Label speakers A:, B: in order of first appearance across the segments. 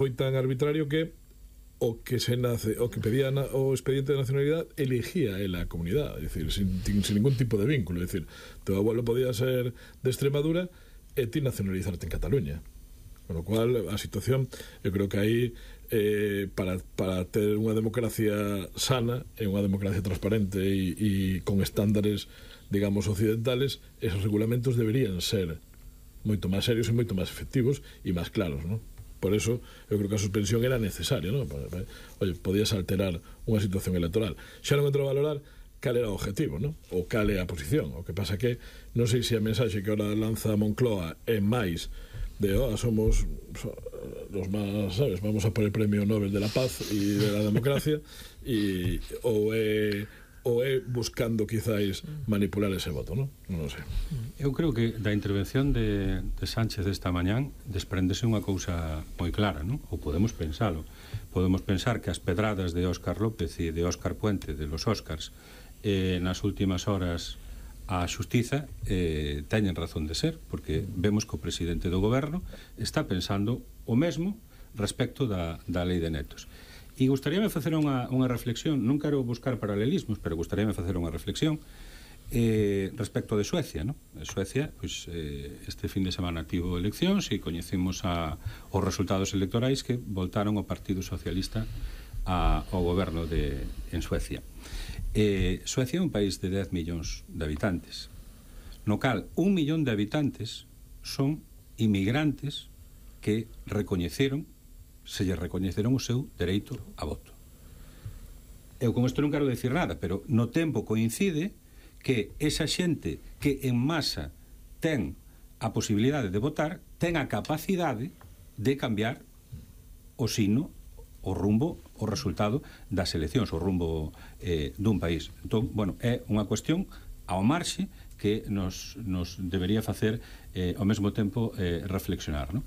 A: foi tan arbitrario que o que pedía o expediente de nacionalidade elegía ela a comunidade, é dicir, sin ningún tipo de vínculo, é dicir, teu abuelo podía ser de Extremadura e ti nacionalizarte en Cataluña, con lo cual a situación, eu creo que aí para ter unha democracia sana e unha democracia transparente e con estándares, digamos, occidentales, esos regulamentos deberían ser moito máis serios e moito máis efectivos e máis claros, non? Por eso, eu creo que a suspensión era necesaria, non? Oye, podías alterar unha situación electoral. Xa non entro a valorar cal era o objetivo, non? Ou cal é a posición. O que pasa que non sei se a mensaxe que ahora lanza Moncloa é máis de, somos los más, sabes, vamos a por el premio Nobel de la Paz e de la democracia, ou é buscando quizáis manipular ese voto, non? Non sei.
B: Eu creo que da intervención de Sánchez esta mañán desprendese unha cousa moi clara, non? Ou podemos pensalo. Podemos pensar que as pedradas de Óscar López e de Óscar Puente, de los Óscars, nas últimas horas a xustiza teñen razón de ser, porque vemos que o presidente do goberno está pensando o mesmo respecto da lei de netos. E gustaríame facer unha reflexión, non quero buscar paralelismos, pero gustaríame facer unha reflexión respecto de Suecia, non? Suecia, pois, este fin de semana tivo eleccións e coñecemos os resultados electorais que voltaron o Partido Socialista ao goberno en Suecia. Suecia é un país de 10 millóns de habitantes, no cal 1 millón de habitantes son inmigrantes que se lle recoñeceron o seu dereito a voto. Eu con isto non quero decir nada, pero no tempo coincide que esa xente que en masa ten a posibilidade de votar ten a capacidade de cambiar o signo, o rumbo, o resultado das eleccións, o rumbo dun país. Entón, bueno, é unha cuestión ao marxe que nos debería facer ao mesmo tempo reflexionar, non?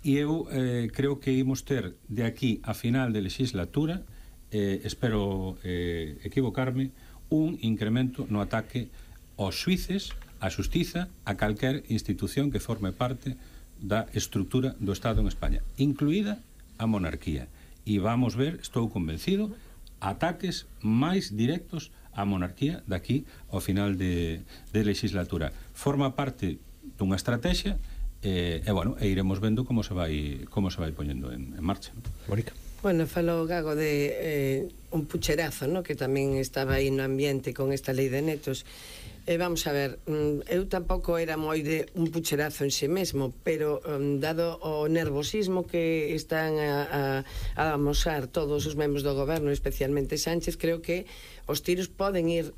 B: E eu creo que imos ter de aquí a final de legislatura, espero equivocarme, un incremento no ataque aos xuíces, á xustiza, a calquer institución que forme parte da estrutura do Estado en España, incluída a monarquía. E vamos ver, estou convencido, ataques máis directos á monarquía daqui ao final de legislatura. Forma parte dunha estrategia e iremos vendo como se vai poñendo en marcha.
C: Mónica.
D: Bueno, falou Gago de un pucherazo, ¿no? Que tamén estaba aí no ambiente con esta lei de netos. Vamos a ver, eu tampouco era moi de un pucherazo en si mesmo, pero dado o nervosismo que están a amosar todos os membros do goberno, especialmente Sánchez, creo que os tiros poden ir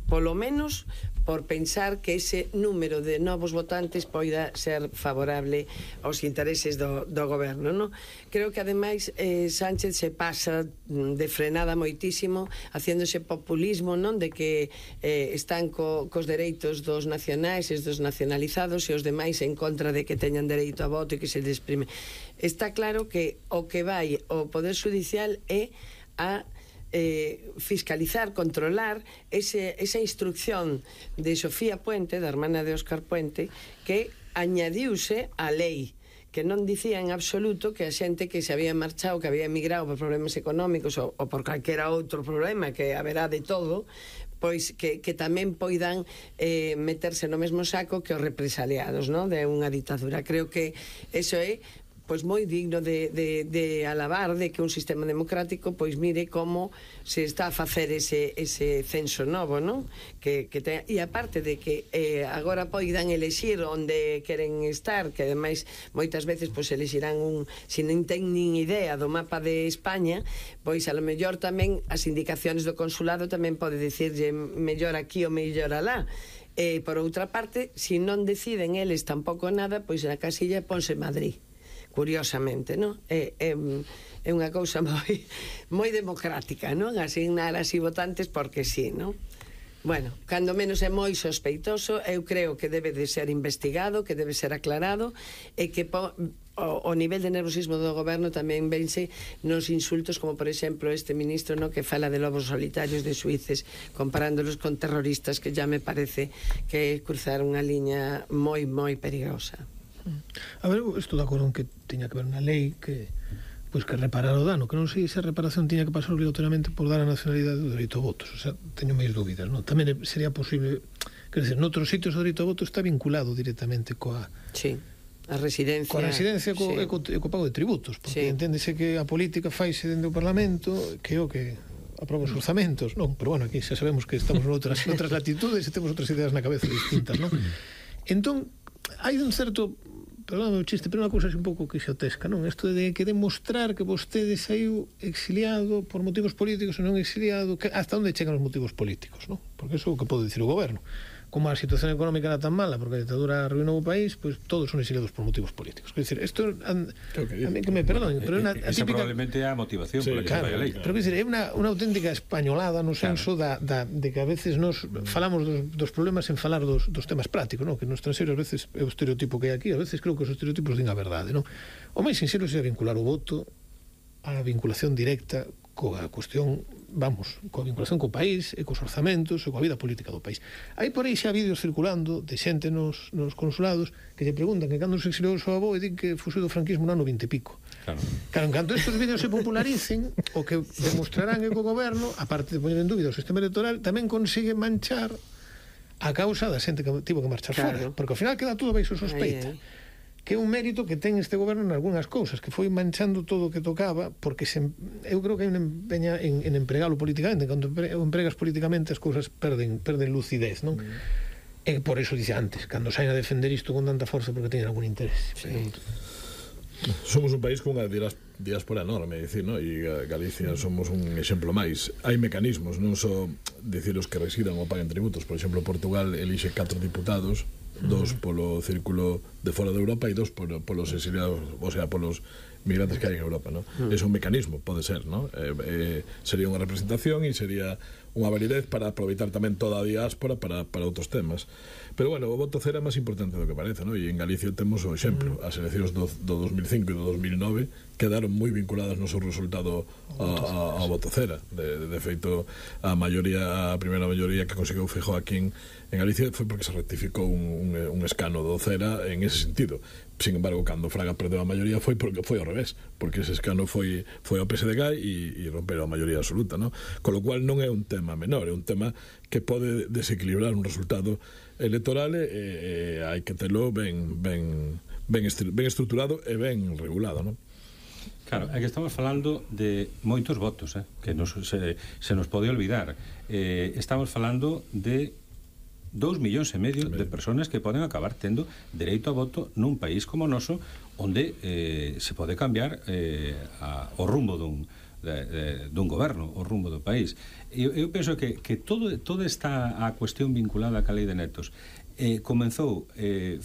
D: polo menos por pensar que ese número de novos votantes poida ser favorable aos intereses do goberno, non? Creo que ademais Sánchez se pasa de frenada moitísimo haciéndose populismo, non? De que están cos dereitos dos nacionais e dos nacionalizados e os demais en contra de que teñan dereito a voto e que se desprime. Está claro que o que vai o Poder Judicial é a fiscalizar, controlar esa instrucción de Sofía Puente, da hermana de Óscar Puente, que añadiuse á lei, que non dicía en absoluto que a xente que se había marchado, que había emigrado por problemas económicos ou por calquera outro problema, que haberá de todo, pois que tamén poidan meterse no mesmo saco que os represaliados, non? De unha ditadura. Creo que eso é pois moi digno de alabar, de que un sistema democrático pois mire como se está a facer ese censo novo, non? E aparte de que agora poidan elexir onde queren estar, que ademais moitas veces pois elexirán se non ten nin idea do mapa de España, pois a lo mellor tamén as indicacións do consulado tamén pode dicirlle mellor aquí ou mellor alá. Por outra parte, se non deciden eles tampouco nada, pois na casilla ponse Madrid, curiosamente, non? É unha cousa moi democrática, non? Asignar así votantes porque sí, non? Bueno, cando menos é moi sospeitoso, eu creo que debe de ser investigado, que debe ser aclarado, e que o nivel de nervosismo do goberno tamén vense nos insultos, como por exemplo este ministro, no, que fala de lobos solitarios de suíces, comparándolos con terroristas, que ya me parece que é cruzar unha liña moi, moi perigosa.
C: A ver, eu estou de acordo en que tiña que haber unha lei que reparar o dano, que non sei se a reparación tiña que pasar obligatoriamente por dar a nacionalidade do dereito a votos, o sea, teño máis dúbidas, non? Tamén sería posible, quer dizer, noutros sitios o dereito a voto está vinculado directamente coa...
D: Sí, a residencia...
C: Coa residencia e co pago de tributos, porque enténdese que a política faise dende o Parlamento, que é o que aproba os orzamentos, non? Pero bueno, aquí xa sabemos que estamos noutras latitudes e temos outras ideas na cabeza distintas, non? Entón, hai un certo... Perdóname o chiste, pero unha cousa así un pouco quixotesca, non? Isto de que demostrar que vostede saiu exiliado por motivos políticos ou non exiliado, que hasta onde chegan os motivos políticos, non? Porque iso é o que pode dicir o goberno. Como a situación económica era tan mala porque a ditadura arruinou o país, pois todos son exiliados por motivos políticos. Quer dizer, isto a mí que me perdoen, pero é unha
B: esa
C: típica...
B: probablemente é a motivación por la que se vai a lei.
C: Pero quer dizer, é unha auténtica españolada no senso de que a veces nos falamos dos problemas sen falar dos temas prácticos, non? Que no estranxeiro a veces é o estereotipo que hai aquí, a veces creo que os estereotipos din a verdade, non? O máis sincero é vincular o voto á vinculación directa coa cuestión, vamos, coa vinculación co país e cos orzamentos e coa vida política do país. Hai por aí xa vídeos circulando de xente nos consulados que lle preguntan que cando se exiliou o seu avó e din que fuxou do franquismo no ano 20 e pico. Claro, en canto estes vídeos se popularicen, o que demostrarán é que o goberno, aparte de poñer en dúbida o sistema electoral, tamén consigue manchar a causa da xente que tivo que marchar fora, porque ao final queda todo baixo sospeita. Que é un mérito que ten este goberno en algunhas cousas, que foi manchando todo o que tocaba, porque eu creo que hai unha empeña en empregalo políticamente. Cando empregas políticamente as cousas perden lucidez, non? E por iso dice antes, cando saen a defender isto con tanta forza porque teñen algún interés.
A: Somos un país con unha diáspora enorme, dicir, ¿no? E Galicia somos un exemplo máis. Hai mecanismos, non só dicir os que residan ou paguen tributos. Por exemplo, Portugal elixe 4 diputados, 2 polo círculo de fora de Europa e 2 polos exiliados, o sea, polos migrantes que hai en Europa, ¿no? É un mecanismo, pode ser, ¿no? Sería unha representación e sería unha validez para aproveitar tamén toda a diáspora para outros temas. Pero bueno, o voto cero é máis importante do que parece, ¿no? E en Galicia temos o exemplo, as eleccións do 2005 e do 2009 quedaron moi vinculadas no seu resultado ao voto cera. De feito, a primeira maioría que conseguiu Feijóo aquí en Galicia foi porque se rectificou un escano do cera en ese sentido. Sin embargo, cando Fraga perdeu a maioría foi porque foi ao revés, porque ese escano foi ao PSDG e romperon a maioría absoluta, ¿no? Con lo cual non é un tema menor, é un tema que pode desequilibrar un resultado electoral e hai que telo ben estruturado e ben regulado, ¿no?
B: Claro, é que estamos falando de moitos votos, que se nos pode olvidar. Estamos falando de 2,5 millóns de persoas que poden acabar tendo dereito a voto nun país como o noso, onde se pode cambiar o rumbo dun goberno, o rumbo do país. Eu penso que toda esta a cuestión vinculada ca lei de netos comenzou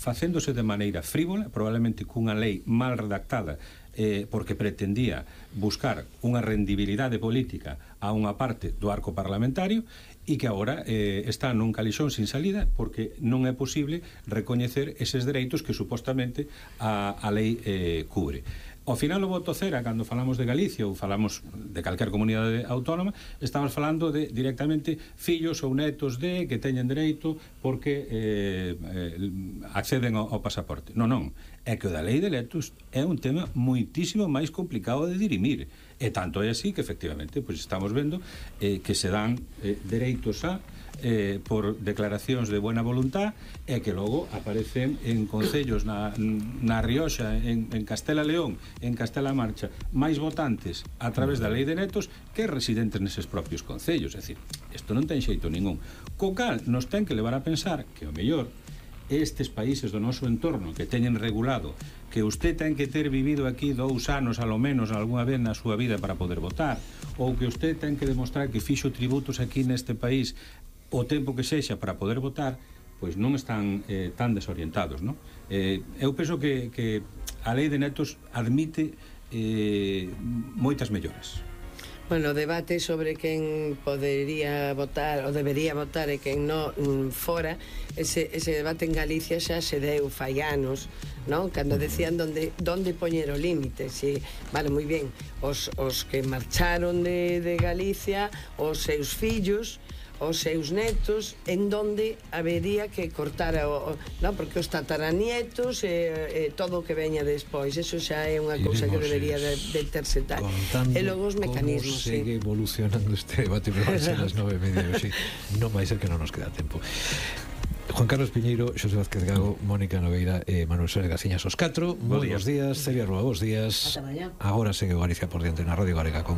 B: facéndose de maneira frívola, probablemente cunha lei mal redactada, porque pretendía buscar unha rendibilidade política a unha parte do arco parlamentario e que agora está nun calixón sin salida porque non é posible recoñecer eses dereitos que supostamente a lei cubre. Ao final o voto cera, cando falamos de Galicia ou falamos de calquer comunidade autónoma, estamos falando de directamente fillos ou netos que teñen dereito porque acceden ao pasaporte. Non, é que o da lei de electos é un tema moitísimo máis complicado de dirimir. E tanto é así que efectivamente pois estamos vendo que se dan dereitos por declaracións de buena voluntad e que logo aparecen en concellos na Rioxa, en Castela León, en Castela Marcha, máis votantes a través da lei de netos que residentes neses propios concellos. É dicir, isto non ten xeito ningún. Co cal nos ten que levar a pensar que o mellor estes países do noso entorno que teñen regulado que usted ten que ter vivido aquí 2 anos a lo menos algunha vez na súa vida para poder votar, ou que usted ten que demostrar que fixo tributos aquí neste país o tempo que sexa para poder votar, pois non están tan desorientados, non? Eu penso que a lei de netos admite moitas melloras.
D: Bueno, o debate sobre quen podería votar ou debería votar e quen non fora, ese debate en Galicia xa se deu fai anos, non? Cando decían donde poñer o límite, si, vale, moi ben, os que marcharon de Galicia, os seus fillos, os seus netos en donde habería que cortar non, porque os tataranietos e todo o que veña despois, eso xa é unha cousa que debería de terse tal. E logo os mecanismos,
E: como segue evolucionando este debate, pero vai ser as 9:30 hoxe, non vai ser que non nos queda tempo. Juan Carlos Piñeiro, Xosé Vázquez Gago, Mónica Nogueira e Manuel Soler Gaciñas, os 4. Moi bons días, Celia Rúa, bons días. Agora segue o Galicia por diante na Radio Galega con